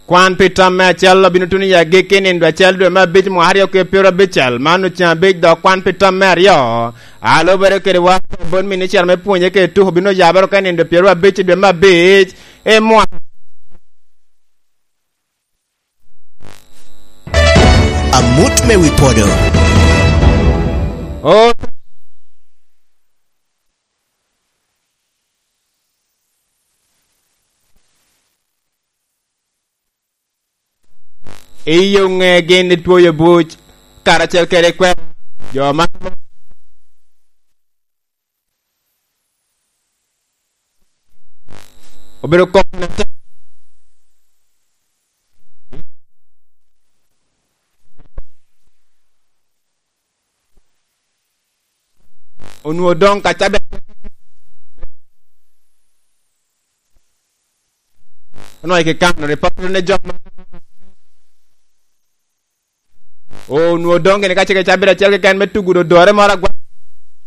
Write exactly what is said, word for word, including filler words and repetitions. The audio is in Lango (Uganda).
Kwan pi tam me acel obino tuno i agikki i nindo acel dwe me abic mwaka aryo ki pyero abicel. Man oceŋ abic dok kwan pi tam me aryo. A lubere kede woro bot minicita me pwonye kede tuko bino yabere oko i nindo pyero abic i dwe me abic i mwaka. Amut me wi podo. O- Iyo ŋe gin i twoyo buc, karacel kede kwer jo ma obedo kok na te-, onwoŋo doŋ ka cabe. Onwoŋo i kikano, ripot ne jo ma onwoŋo doŋ gini ka cik cabit acel keken me tugo dodore moro agwa.